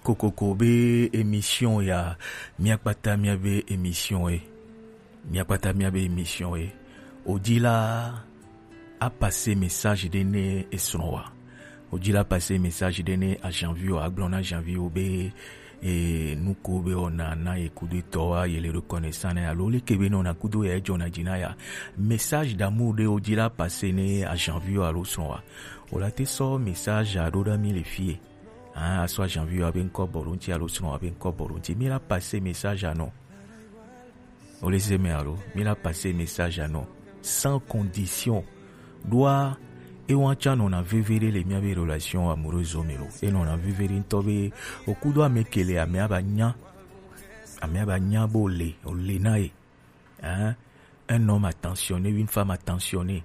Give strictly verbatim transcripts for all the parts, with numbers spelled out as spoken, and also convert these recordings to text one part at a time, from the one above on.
Kokoko be émission ya, miakpata miabe émission e. Miakpata miabe émission e. Odila a passer message de ne esrɔ̃ wa. Odila passer message de ne a Janvier, a gblɔ na Janvier be e nuko be ona na ye kudo tɔ wa, ye le reconnaissant na ya, lo le ke be no na kudo ya jona jina ya. Message d'amour de odila passer ne a Janvier alo srɔ̃ wa. O la te sɔ message a ɖo ɖa mi le fie. Ah, asɔ Janvier wa be ŋkɔ bɔ ɖo ŋti alo srɔ̃ wa be ŋkɔ bɔ ɖo ŋti. Mi la passer message a no. O le se me alo, mi la passer message a no. Sans condition. Ɖoa, e wan tsa nɔna veve ɖe le miabe relation amoureuse me lo. E nɔna veve ɖe ŋtɔ be, o kudo ame ke le ame aba nya. Ame aba nya bo le, o le na ye. Hein? Un homme attentionné, une femme attentionnée.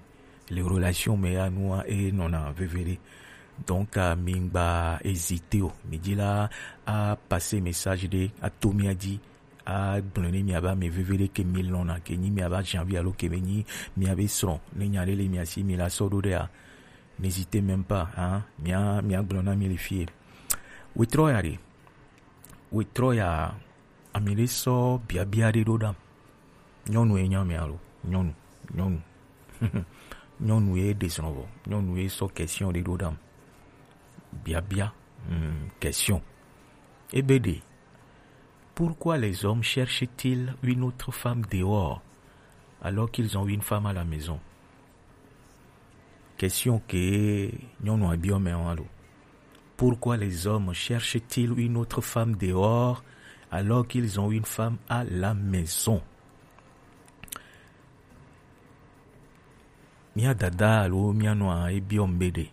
Les relations me ya nua e nɔna veve ɖe. Donc, euh, mi ŋgba hésiter o. Mi dzi la a passer message ɖe a to mia dzi. A gblɔ ne miabe ame veve ɖe ke mi lɔna ke nyi miabe Janvier alo ke be nyi miabe srɔ̃. Ne nya ɖe le mia si mi la sɔ ɖo ɖe a. N'hésitez même pas, hein. Mia, mia gblɔ na mi le fie. Wetrɔ ya ɖe. Wetrɔ ya, ami ɖe sɔ biabia ɖe ɖo ɖam. Nyɔnu ye nya mi alo? Nyɔnu, nyɔnu. Nyɔnu ye ɖe srɔ̃ vɔ. Nyɔnu ye sɔ question ɖe ɖo ɖam. Biabia, hmm, question. Ebe ɖe, pourquoi les hommes cherchent-ils une autre femme dehors alors qu'ils ont une femme à la maison? Question ke nyɔnu a biɔ mɛ wa lo. Pourquoi les hommes cherchent-ils une autre femme dehors alors qu'ils ont une femme à la maison? Mia dada alo mia nɔa e biɔ mbe ɖe.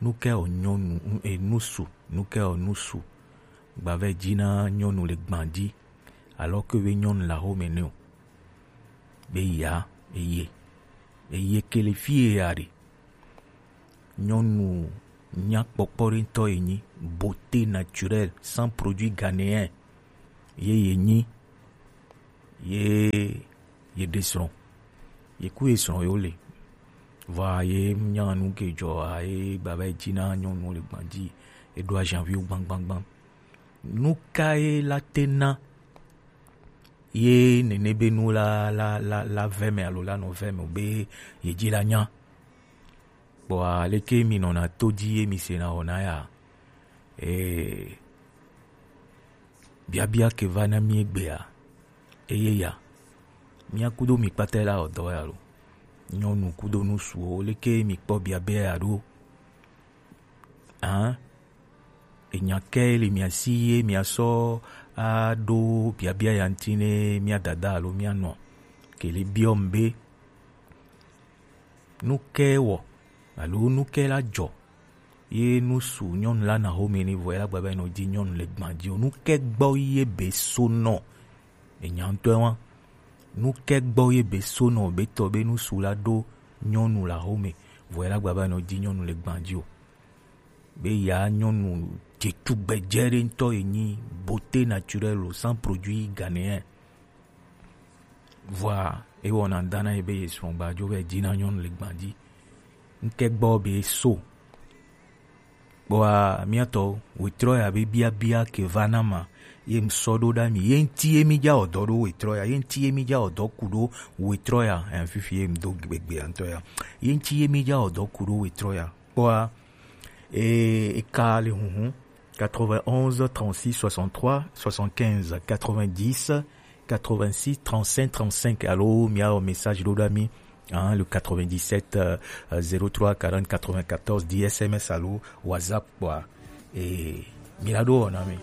Nuke o nyɔnu, e nusu, nuke o nusu. Gbavɛ dzi na nyɔnu le gban dzi. Alors que be nyɔnu la xo me ne o. Be ya, eye. Eye ke le fie ya ɖe. Nyɔnu nyakpɔkpɔ ɖe ŋtɔ ye nyi, beauté naturelle, sans produit ghanéen. Ye ye nyi, ye, ye ɖe srɔ̃. Ye ku ye srɔ̃ yo le. Vɔa ye nya nu ke dzɔ a, ye gbava ye dzi na nyɔnu le gban dzi. Ye ɖo ajanvi wo gbangbangban. Nu ka ye la te na ye nene be nu la, la, la, la vɛ me alo la nɔ vɛ me o be ye dzi la nya? Kpɔa leke mi nɔna to dzi ye mi sena wɔna ya? Ee, biabia ke va na mi egbea, eye ya, mia kudo mi kpata la wɔ dɔ ya lo? Nyɔnu kudo nusuwo, leke mi kpɔ biabia ya ɖo? Hã? Enya ke le mia si ye mia sɔ aɖo biabia ya ŋuti ne mia dada alo mia nɔ ke le biɔ m be, nu ke wɔ alo nu ke la dzɔ ye nusu nyɔnu la na xome ni vɔ ye la gba be nɔ dzi nyɔnu le gban dzi o. Nu ke gbɔ ye be so nɔ? Enya ŋutɔe wa. Nu ke gbɔ ye be so nɔ be tɔ be nusu la ɖo nyɔnu la xome vɔ ye la gba be nɔ dzi nyɔnu le gban dzi o. Be ya nyɔnu dzetugbedzɛ ɖe ŋutɔ ye nyi, beauté naturelle o, sans produit ghanéen. Vɔa ewɔna ŋda na ye be ye srɔ̃ gba dzo be dzi na nyɔnu le gban dzi. Ŋke gbɔ be so. Kpɔa miatɔ wetrɔ ya be biabia ke va na ma ye ŋsɔ ɖo ɖa mi ye ŋti ye mi dza ɔdɔ ɖo wetrɔ ya ye ŋti ye mi dza ɔdɔ ku ɖo wetrɔ ya. Ɛn, fifi ye ŋdo gbegbe ya ŋtɔ ya ye ŋti ye mi dza ɔdɔ ku ɖo wetrɔ ya. Kpɔa e, e ka le huhun quatre-vingt-onze trente-six soixante-trois soixante-quinze quatre-vingt-dix quatre-vingt-six trente-cinq trente-cinq alo mia message ɖo ɖa mi, hein, le quatre-vingt-dix-sept zéro trois quarante quatre-vingt-quatorze dix S M S alo WhatsApp kpɔa e mi la ɖo wɔna mi.